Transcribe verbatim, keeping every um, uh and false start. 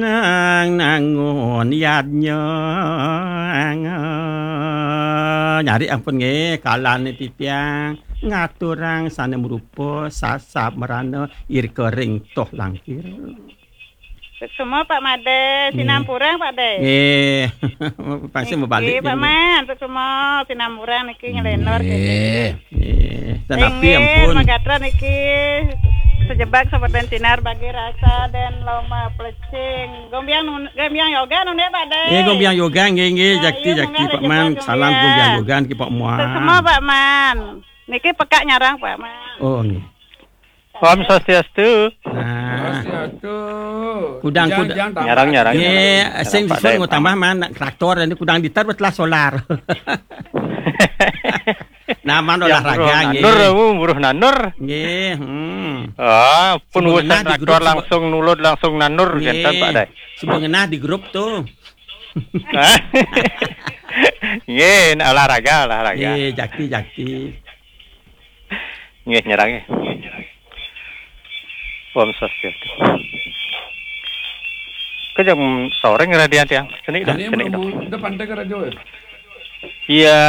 Nang nangun yadnya. Nyari ampun nggih, kalane titiang ngaturang sane mrupa sasab merana irika ring toh langkir. Suksma Pak Made, hmm, sinampurang Pak De. Nggih. Pasti Pak De. Nggih, Pak Man, suksma sinampurang niki nyelenor. Nggih. Nggih. Nggih. Tetapi inggih, ampun. Magatra niki sejebak sampun sinar bagi rasa dan loma plecing. Gombiang nun-, gombiang yoga nun Pak De. Nggih, gombiang yoga nggih, nggih, nah, jakti, iya, jakti, mangga Pak Man. Salam gombiang yoga niki Pak Man. Suksma Pak Man. Niki pekak nyarang Pak Man. Oh, nggih. Om Swastiastu. Nah. Swastiastu. Kudang, kudang. Nyarang, nyarang, nggih, nyarang. Sing nyarang disusun Pak De, ngutambah Man, traktor ini kudang diter betelah solar. Nah, Man olahraga, buruh nggih. Nanur, buruh nanur. Nggih, hmm. Ah, pun urusan traktor langsung nulud, langsung nanur, nggih. Genten, Pak De. Suba ngenah di grup tuh. Nggih, olahraga, olahraga. Nggih, jakti, jakti. Nggih, nyerang nggih. Om Swastiastu. Kejam sore ngeradian tiang. Sini dah, ini sini dah. Depan dek radio ya? Iya.